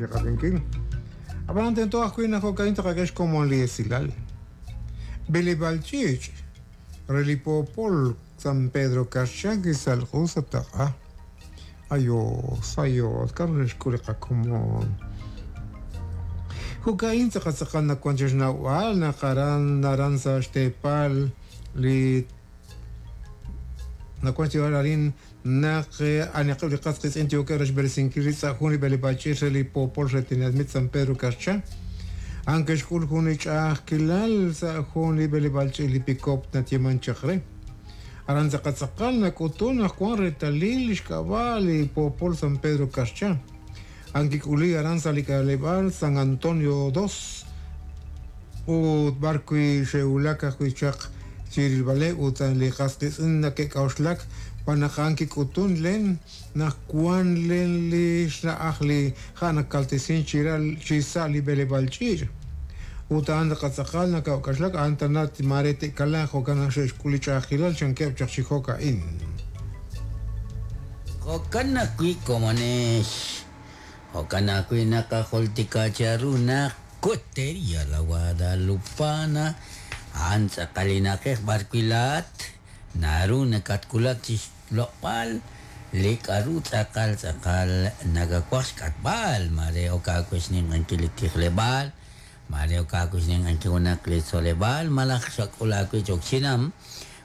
chiqab'inkil. Ab'anan tento ajwi' naq jo'ka'in taqak'e xkomon li esilal. B'eleb'aal ch'iich' re li poopol San Pedro Carchá kisalq'u sa' taq'a. Ayos, ayos, k'aru xe'xk'ul li qakomon. Jo'ka'in tz'aqal tz'aqal nawank chi xnawb'al naq aran aran sa' xteepal li nawank xyeeb'al arin naq anaqeb' li qas qiitz'in yookeb' re xb'eresinkil rib' sa' jun li b'eleb'aal ch'iich' re li poopol re tenamit San Pedro Carchá. A'an ke'xk'ul jun li ch'a'ajkilal sa' jun li b'eleb'aal ch'iich' li pikop nayeeman chaq re. Aran tz'aqal tz'aqal nak'utun naq wan reetalil li xk'ab'a' li poopol San Pedro Carchá. A'an kik'uli aran sa' li k'aleb'aal San Antonio Dos ut b'ar wi' xe'wulak ajwi' chaq chi rilb'aleb' ut li qas qiitz'in nake'k'a'uxlak xb'aan naq a'an kik'utun len naq wan len li xna'aj li ha' nakaltesin chi ral chi sa' li b'eleb'aal ch'iich' ut a'an tz'aqal tz'aqal naka'k'a'uxlak a'an tana maare te'kalaaq jo'kan naq xe'xk'ul li ch'a'ajkilal chankeb' chaq chi jo'ka'in. Jo'kan ajwi' komonex, jo'kan ajwi' naqajultika cheru naq Cotería La Guadalupana a'an tz'aqal li na'ajej b'ar wi' laa'at naru nakatwulak chi xloq'b'al li k'a'ru tz'aqal tz'aqal nakawaj xk'atb'al, maare ok aawe xninq'ehinkil li tijleb'aal, maare ok aawe xninq'ehinkil junaq li tzoleb'aal malaj xak'ul aawe cho'q chinam.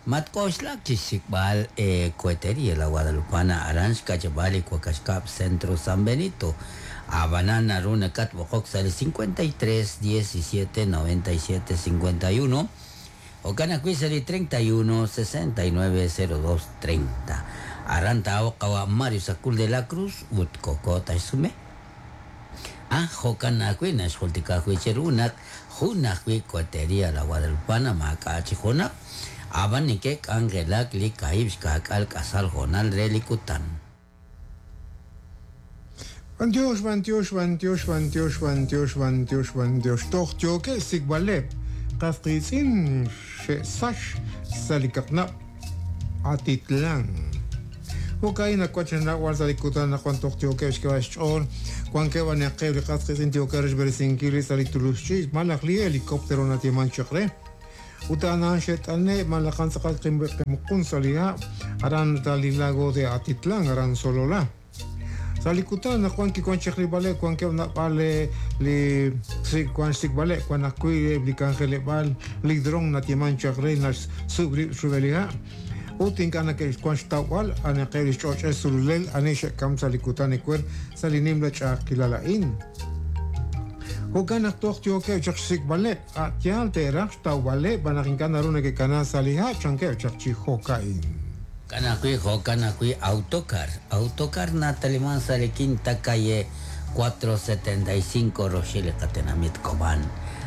Matk'oxlak chi xsik'b'al Cohetería La Guadalupana aran xka'yab'aal li Wakax Kab' Centro San Benito. Ab'anan naru nakatb'oqok sa' li 53 17 97 51 jo'kan ajwi' sa' li 31 69 02 30. Aran taa'oq qawa' Mario Sacul de la Cruz ut koko taxsume. Ah, jo'kan ajwi' naxjultika ajwi' cheru naq jun ajwi' Cohetería La Guadalupana maak'a' chi junaq, ab'an neke'k'anjelak li kaahib' xkaak'al k'asal hoonal re li kutan. B'antiox, b'antiox, b'antiox, b'antiox, b'antiox, b'antiox, b'antiox. Toj yookeb' xsik'b'aleb' qas qiitz'in xe'sach sa' li kaqnab' Atitlán. Jo'ka'in nawank chi xnawb'al sa' li kutan naq wan toj yookeb' xk'eeb'al xch'ool, wankeb' anaqeb' li qas qiitz'in yookeb' re xb'eresinkil rib' sa' li tulux ch'iich' malaj li helicóptero nayeeman chaq re. Ut a'an a'an xe't'ane' malaj a'an tz'aqal qemuqun sa' li ha' aran sa' li lago de Atitlán aran Sololá. Sa' li kutan naq wan kiwan chaq rilb'aleb' wankeb' naab'al li wan xsik'b'aleb' wan ajwi' eb' li k'anjeleb'aal li dron nayeeman chaq re naxsub' rib' rub'el li ha' ut ink'a' nake'wan xtawb'al anaqeb' li xch'och'el sululel ani xe'kam sa' li kutan ewer sa' li nimla ch'a'ajkilal a'in. Jo'kan naq toj yookeb' chaq xsik'b'aleb', a' yaal te'raj xtawb'aleb' b'an naq ink'a' naru neke'kana sa' li ha' chankeb' chaq chi jo'ka'in. Jo'kan ajwi', jo'kan ajwi' Autocar, Autocar nataliman sa' li Quinta Calle 475 roxil li qatenamit Cobán.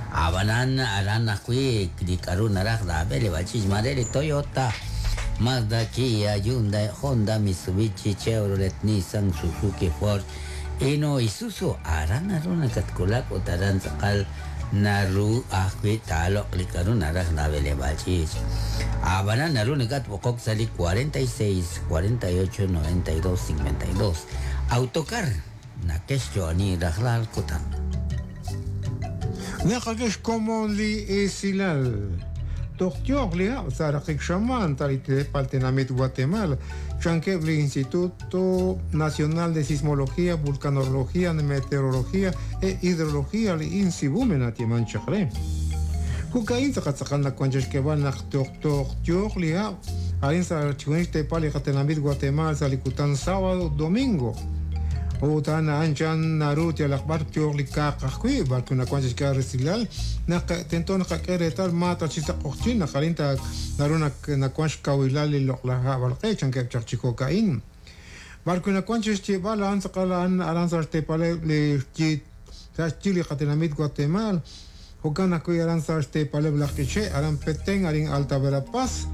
Ab'anan aran ajwi' li k'a'ru naraj laab'e li b'ach'ich maare li Toyota, Mazda, Kia, Hyundai, Honda, Mitsubishi, Chevrolet, Nissan, Suzuki, Ford, Hino, Isuzu, aran naru nakatwulak ut aran tz'aqal naru ajwi' taaloq' li k'a'ru naraj laab'eleb'aal ch'iich'. Ab'anan naru nakatb'oqok sa' li 46 48 92 52. Autocar nakexyo'oni rajlal kutan. Naqak'e xkomon li esilal. Toj yooq li hab' sa' raqik xamaan sa' li teepal tenamit Guatemala, chankeb' li Instituto Nacional de Sismología, Vulcanología, Meteorología e Hidrología li INSIVUME nayeeman chaq re. Jo'ka'in tz'aqal tz'aqal nawank chi xk'eeb'al naq toj toj yooq li hab' arin sa' chixjunil xteepal li qatenamit Guatemala sa' li kutan sábado ut domingo. Ut a'an a'an chan naru yalaq b'ar yooq li kaaq ajwi' b'arwi' nawank chi xk'eeb'al resilal naq tento naqak'e reetal ma ta chi sa' q'oqyink naq arin ta naru nawank xkawilal li loq'laj hab'alq'e chankeb' chaq chi jo'ka'in. B'arwi' nawank chi xyeeb'al a'an tz'aqal a'an aran sa' xteepaleb' li sa' xyi li qatenamit Guatemaal, jo'kan ajwi' aran sa' xteepaleb' laj K'iche', aran Petén, arin Alta Verapaz,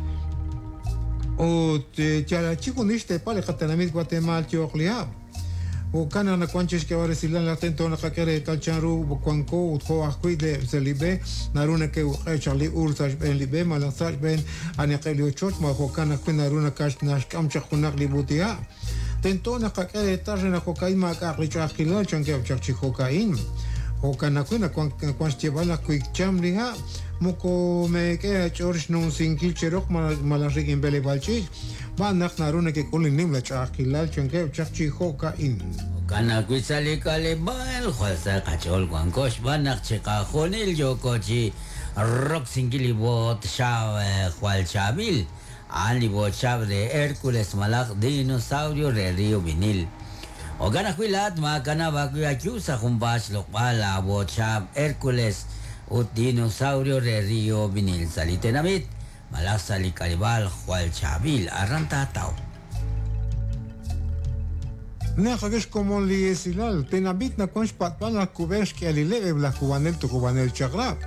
ut yal chixjunil xteepal li qatenamit Guatemaal yooq li hab'. Jo'kan naq nawank chi xk'eeb'al resilal naq tento naqak'e reetal chanru wanko ut jo' ajwi' sa' li b'e naru neke'uq'e chaq li uul sa' xb'een li b'e malaj sa' xb'een aniqeb' li ochoch, ma jo'kan ajwi' naru naxk'am chaq junaq li b'ut'iha'. Tento naqak'e reetal re naq jo'ka'in maak'a'aq li ch'a'ajkilal chankeb' chaq chi jo'ka'in. Jo'kan ajwi' nawank xyeeb'al naq wi cham li ha' moko meek'e aach'ool xnumsinkil cheroq malaj rik'in b'eleb'aal ch'iich', b'an naq naru nekek'ul li nimla ch'a'ajkilal chankeb' chaq chi jo'ka'in. Jo'kan ajwi' sa' li k'aleb'aal jwal sa qach'ool wanko xb'aan naq chiqajunil yooko chi roksinkil li boot xaab' jwal chaab'il, a'an li boot xaab' re Hércules malaj Dinosaurio re Río Vinil. Jo'kan ajwi' laa'at maakanab' aawib' ayu sa' junpaat xloq'b'al laaboot xaab' Hércules ut Dinosaurio re Río Vinil sa' li tenamit malaj sa' li k'aleb'aal jwal chaab'il aran taataw. Naq ak xkomon li esilal, tenamit nawank xpat'b'al naq kub'ej xk'ihalileb' eb' laj kub'anel tuqub'anel chaq'rab'.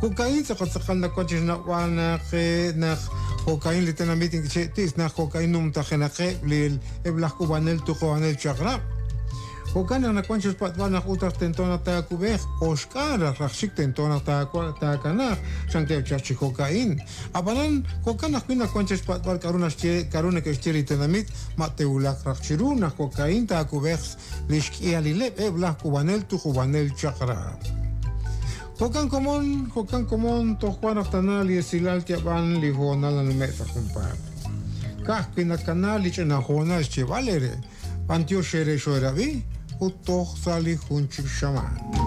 Jo'ka'in tz'aqal tz'aqal nawank chi xnawb'al naq naq jo'ka'in li tenamit ink'che'tis naq jo'ka'in numtajenaqeb' li eb' laj k'ub'anel tuqub'anel chaq'rab'. Jo'kan naq nawank chi xpat'b'al naq ut raj tento naq taakub'eeq oxk'aal raj raj xik tento naq taakanaaq chankeb' chaq chi jo'ka'in. Ab'anan jo'kan ajwi' nawank chi xpat'b'al k'a'ru naxye k'a'ru neke'xye li tenamit ma te'wulaq raj chiru naq jo'ka'in taakub'eeq li xk'ihalileb' eb' laj k'ub'anel tuqub'anel chaq'rab'. Jo'kan komon, jo'kan komon toj wan raj tana li esilal yab'an li hoonal nanume' sa' junpaat. Ka'ajwi' nakana li ch'ina hoonal xyeeb'al eere, b'antiox eere xoo'erab'i ut toj sa' li jun chik xamaan.